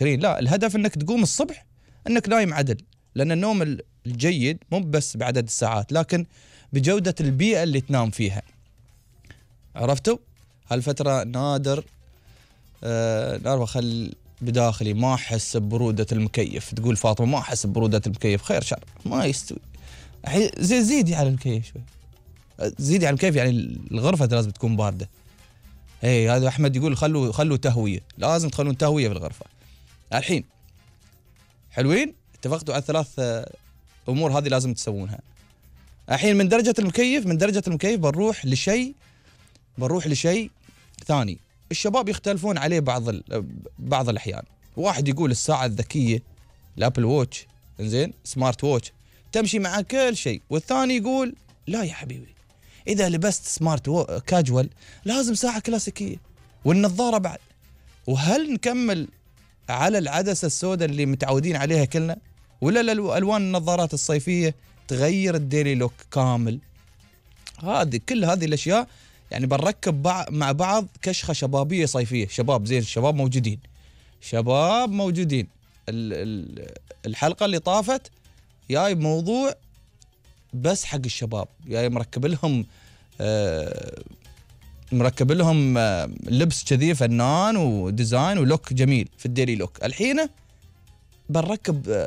لا، الهدف انك تقوم الصبح انك نايم عدل، لان النوم الجيد مو بس بعدد الساعات لكن بجودة البيئة اللي تنام فيها. عرفتوا؟ هالفترة نادر خل بداخلي ما احس ببرودة المكيف. تقول فاطمة ما احس ببرودة المكيف، خير شر، ما يستوي. زيدي على المكيف شوي، زيدي على المكيف، يعني الغرفة لازم تكون باردة. هذا احمد يقول خلوا تهوية، لازم تخلون تهوية في الغرفة. الحين حلوين، اتفقتوا على الثلاث امور هذه لازم تسوونها. الحين من درجة المكيف بنروح لشيء ثاني. الشباب يختلفون عليه بعض الأحيان. واحد يقول الساعة الذكية الأبل ووتش، إنزين، سمارت ووتش تمشي مع كل شيء، والثاني يقول لا يا حبيبي، إذا لبست سمارت كاجوال لازم ساعة كلاسيكية، والنظارة بعد. وهل نكمل على العدسة السوداء اللي متعودين عليها كلنا، ولا الألوان النظارات الصيفية تغير الديلي لوك كامل؟ كل هذه الأشياء يعني بنركب مع بعض كشخة شبابية صيفية. شباب زين، الشباب موجودين. الحلقة اللي طافت جاي بموضوع بس حق الشباب، جاي مركب لهم لبس كذي فنان وديزاين ولوك جميل في الديلي لوك. الحين بنركب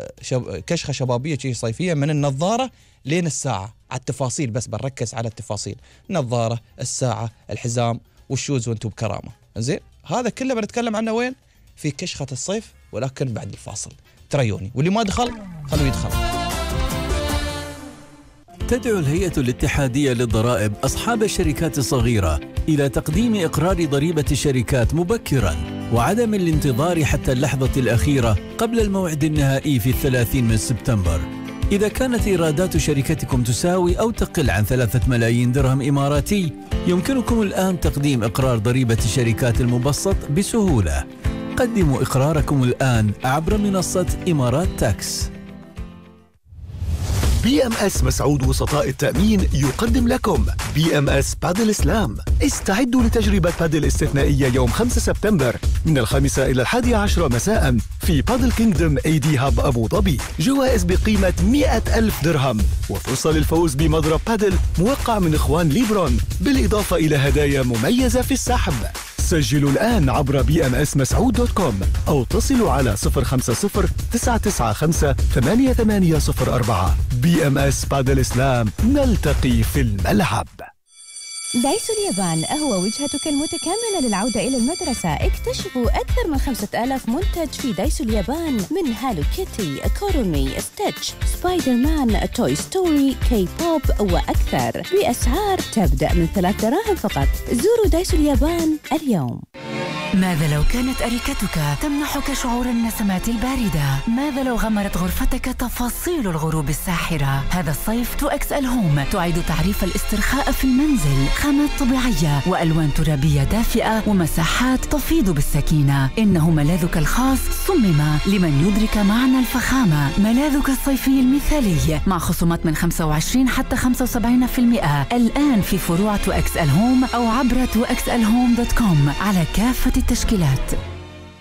كشخة شبابية شيء صيفية، من النظارة لين الساعة، على التفاصيل بس بنركز على التفاصيل، النظارة، الساعة، الحزام والشوز، وانتم بكرامة. زين، هذا كله بنتكلم عنه وين؟ في كشخة الصيف، ولكن بعد الفاصل. تريوني، واللي ما دخل خلوه يدخل. تدعو الهيئة الاتحادية للضرائب أصحاب الشركات الصغيرة إلى تقديم إقرار ضريبة الشركات مبكراً، وعدم الانتظار حتى اللحظة الأخيرة قبل الموعد النهائي في 30 من سبتمبر. إذا كانت إيرادات شركتكم تساوي أو تقل عن 3 ملايين درهم إماراتي، يمكنكم الآن تقديم إقرار ضريبة الشركات المبسط بسهولة. قدموا إقراركم الآن عبر منصة إمارات تاكس. BMS مسعود وسطاء التأمين يقدم لكم BMS بادل سلام. استعدوا لتجربة بادل استثنائية يوم 5 سبتمبر من 5 إلى 11 مساء في بادل كينغدوم AD هاب أبو ظبي. جوائز بقيمة 100,000 درهم وفرصة للفوز بمضرب بادل موقع من إخوان ليبرون، بالإضافة إلى هدايا مميزة في السحب. سجلوا الآن عبر bmsmasعود.com أو اتصلوا على 050-995-8804. BMS بادل سلام، نلتقي في الملعب. دايسو اليابان هو وجهتك المتكاملة للعودة إلى المدرسة. اكتشفوا أكثر من 5000 منتج في دايسو اليابان، من هالو كيتي، كورومي، ستيتش، سبايدر مان، توي ستوري، كي بوب وأكثر، بأسعار تبدأ من 3 دراهم فقط. زوروا دايسو اليابان اليوم. ماذا لو كانت أريكتك تمنحك شعور النسمات الباردة؟ ماذا لو غمرت غرفتك تفاصيل الغروب الساحرة؟ هذا الصيف 2XL هوم تعيد تعريف الاسترخاء في المنزل، خامات طبيعية وألوان ترابية دافئة ومساحات تفيض بالسكينة. إنه ملاذك الخاص صمم لمن يدرك معنى الفخامة. ملاذك الصيفي المثالي مع خصومات من 25 حتى 75% الآن في فروع 2XL هوم أو عبر 2XLhome.com على كافة التشكيلات.